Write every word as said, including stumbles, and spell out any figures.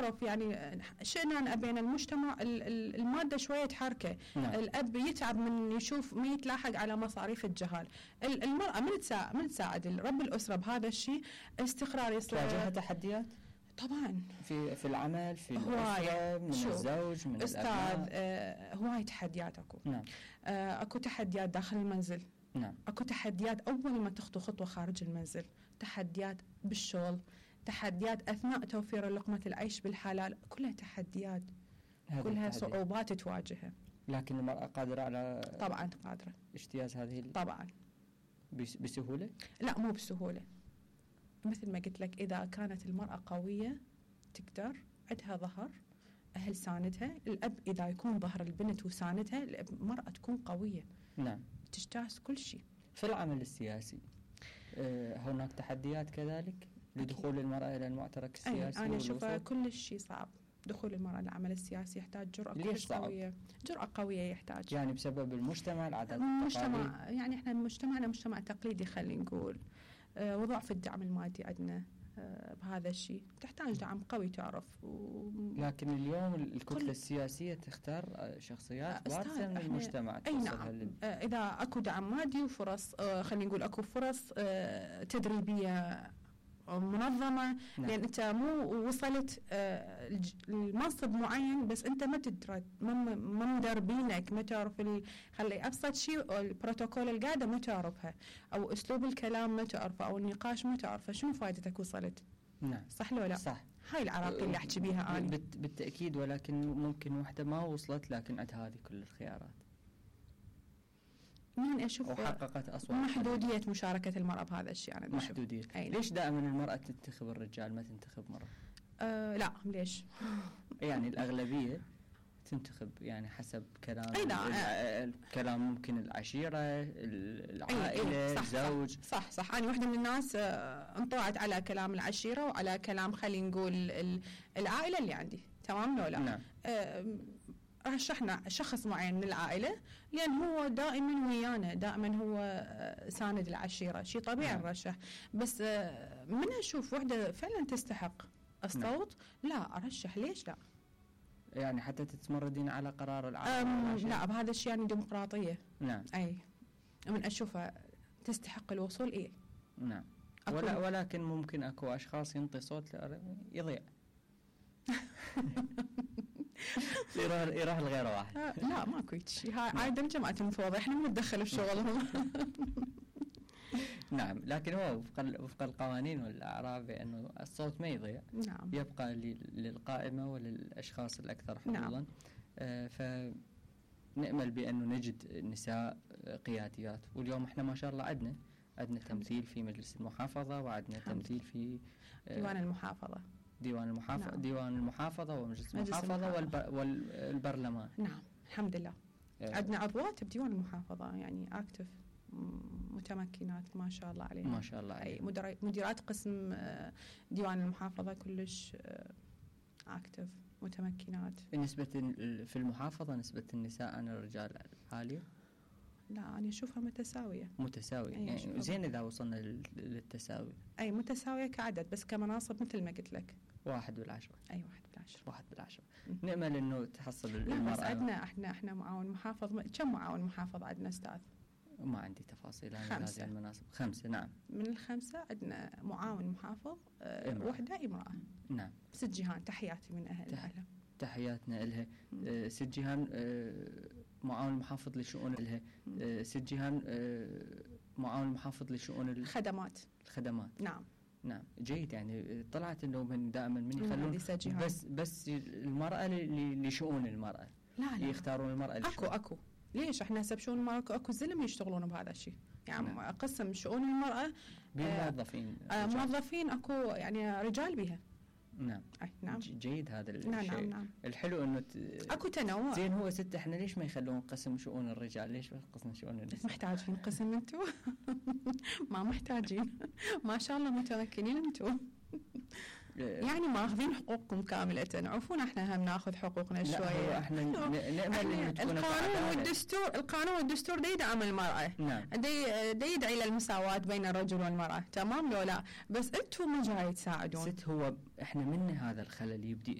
تعرف يعني شئنا بين المجتمع المادة شوية تحركه. نعم. الأب يتعب من يشوف ما يتلاحق على مصاريف الجهال. المرأة من تساعد من تساعد رب الأسرة بهذا الشيء استقرار يصير. تواجهها تحديات؟ طبعا في في العمل، في الأسرة، من الزوج، من أستاذ الأبناء. آه هواي تحديات أكو. نعم. آه أكو تحديات داخل المنزل. نعم. أكو تحديات أول ما تخطو خطوة خارج المنزل، تحديات بالشغل، تحديات أثناء توفير لقمة العيش بالحلال، كلها تحديات، كلها صعوبات تواجهها. لكن المرأة قادرة على طبعا قادرة اجتياز هذه طبعا بسهولة؟ لا مو بسهولة، مثل ما قلت لك إذا كانت المرأة قوية تقدر، عندها ظهر، أهل ساندها، الأب إذا يكون ظهر البنت وساندها، المرأة تكون قوية. نعم. تجتاز كل شيء. في العمل السياسي أه هناك تحديات كذلك لدخول المرأة إلى المعترك السياسي؟ أنا أشوف كل شيء صعب. دخول المرأة للعمل السياسي يحتاج جرأة ليش قوية. جرأة قوية يحتاج. يعني بسبب المجتمع، العادات المجتمع، يعني احنا مجتمعنا مجتمع تقليدي خلينا نقول، أه وضعف الدعم المادي عندنا أه بهذا الشيء، تحتاج دعم قوي تعرف. و... لكن اليوم الكتلة السياسية تختار شخصيات وارثة من المجتمع. أي نعم. لل... أه إذا أكو دعم مادي وفرص أه خلينا نقول أكو فرص أه تدريبية منظمة. نعم. لأن أنت مو وصلت آه المنصب معين بس أنت ما تدري، ما مدربينك، ما تعرف ال... خلي أبسط شيء البروتوكول القاعدة ما تعرفها، أو أسلوب الكلام ما تعرفه، أو النقاش ما تعرفه، شنو فائدتك وصلت؟ نعم. صح لو لا؟ صح. هاي العراقية اللي أحكي بيها أنا. بالت... بالتأكيد، ولكن ممكن وحدة ما وصلت لكن عندها هذه كل الخيارات. من أشوف وحققت أصوات. محدودية مشاركة المرأة بهذا الشيء أنا بشوف. محدودية. ليش دائما المرأة تنتخب الرجال ما تنتخب مرأة؟ أه لا ليش؟ يعني الأغلبية تنتخب يعني حسب كلام. أي لا. كلام ممكن العشيرة، العائلة، الزوج. صح صح. أنا واحدة من الناس انطوعت على كلام العشيرة وعلى كلام خلينا نقول العائلة اللي عندي. تمام لو لا؟ نعم. أه رشحنا شخص معين من العائلة لأن هو دائما ويانا، دائما هو ساند العشيرة، شيء طبيعي نرشح. بس من أشوف وحدة فعلا تستحق الصوت، لا أرشح. ليش لا؟ يعني حتى تتمردين على قرار العائلة؟ لا، بهذا الشيء يعني ديمقراطية. نعم. أي من أشوفها تستحق الوصول. إيه. نعم. ولا ولكن ممكن أكو أشخاص ينطي صوت يضيع. يروح يروح لغير واحد. لا ماكو شيء، هاي عاده جماعه المفوضه، احنا ما نتدخل بشغلهم. نعم. لكن هو وفق وفق القوانين والاعراف بانه الصوت ما يضيع. نعم. يبقى للقائمه وللاشخاص الاكثر حظوظا. نعم. آه فنأمل بانه نجد نساء قياديات، واليوم احنا ما شاء الله عندنا عندنا تمثيل في مجلس المحافظه، وعندنا تمثيل في آه ديوان المحافظه. ديوان المحافظة. نعم. ديوان المحافظة ومجلس المحافظة والب... والبرلمان. نعم الحمد لله. آه. عندنا عضوات بديوان المحافظة يعني اكتف، متمكنات ما شاء الله عليهم. ما شاء الله عليهم. أي مديرات قسم ديوان المحافظة كلش اكتف متمكنات. نسبة في المحافظة نسبة النساء عن الرجال عالية؟ لا أنا أشوفها متساوية. متساوية يعني زين إذا وصلنا للتساوي. أي متساوية كعدد، بس كمناصب مثل ما قلت لك واحد بالعشرة. أي واحد بالعشرة. واحد بالعشرة. نأمل إنه تحصل المرأة. لا بس عندنا إحنا إحنا معاون محافظ. كم معاون محافظ عندنا أستاذ؟ ما عندي تفاصيل عن هذه المناصب. خمسة. نعم. من الخمسة عندنا معاون محافظ آه وحدة امرأة. نعم. ست جيهان، تحياتي من أهل تح... تحياتنا لها. آه ست جيهان آه معاون محافظ لشؤون لها. آه ست جيهان آه معاون محافظ لشؤون الخدمات. الخدمات. نعم. نعم جيد. يعني طلعت انه من دائما من يخلون بس بس المرأة لشؤون المرأة. لا لا يختارون المرأة اكو اكو ليش احنا هسه بشؤون المرأة اكو زلمة يشتغلون بهذا الشيء يعني. نعم. قسم شؤون المرأة بموظفين آه موظفين اكو يعني رجال بها. نعم. أي نعم. جيد هذا الشيء. نعم نعم نعم. الحلو انه ت... اكو تنوع. زين هو ست احنا ليش ما يخلون قسم شؤون الرجال؟ ليش قسم شؤون النساء؟ محتاجين قسم انتم؟ ما محتاجين. ما شاء الله متمكنين انتم. يعني ماخذين حقوقكم كاملة. عفونا احنا هم ناخذ حقوقنا شوية. لا هو احنا نأمل ان تكون القانون والدستور القانون والدستور دا يدعم المرأة. نعم. دا دا يدعي للمساواة بين الرجل والمرأة. تمام لو لا؟ بس انتم ما جاي تساعدون. ست هو احنا من هذا الخلل يبدي